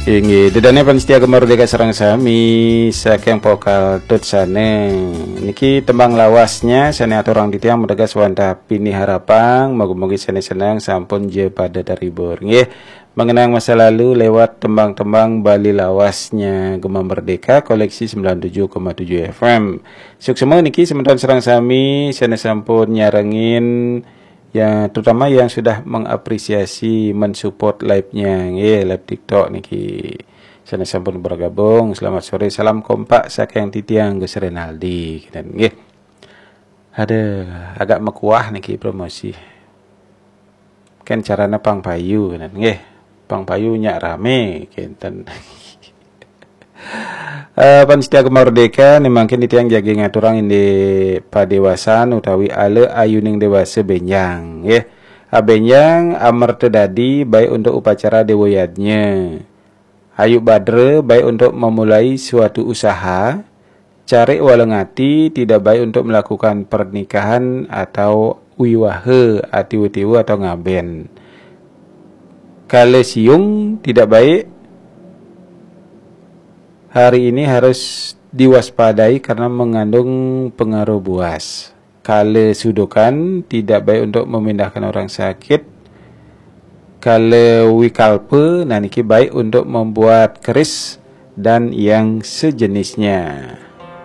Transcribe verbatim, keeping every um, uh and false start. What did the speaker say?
Inggih, ida dané pamiarsa Gema Merdeka sareng sami saking Pokal Tut sané. Niki tembang lawasnya sané aturang titiang mateges wantah pinih harapang, mugi-mugi sané seneng sampun ja pada terhibur. Nggih, mengenang masa lalu lewat tembang-tembang Bali lawasnya Gema Merdeka koleksi sembilan tujuh koma tujuh F M. Suksma niki semeton sareng sami sané sampun nyarengin, ya, terutama yang sudah mengapresiasi, mensupport live-nya, nggih, live TikTok niki. Sané sampun bergabung, selamat sore, salam kompak saking titiang Gus Renaldi, kinten, nggih. Ada agak mekuah niki promosi. Kan carana pang payu, kinten, nggih. Pang payu nyak ramé, kinten. Eh, pamiarsa Gema Merdeka, né mangkin titiang jagi ngaturang indik padéwasan utawi ala ayuning déwasa bénjang, nggih. Abénjang amerta dadi baik untuk upacara déwa yadnya. Ayu badra baik untuk memulai suatu usaha, carik waleng ati tidak baik untuk melakukan pernikahan atau wiwaha atiwa-tiwa atau ngabén. Kala siung tidak baik, hari ini harus diwaspadai karena mengandung pengaruh buas. Kala sudukan tidak baik untuk memindahkan orang sakit. Kala wikalpa, nah niki baik untuk membuat keris dan yang sejenisnya.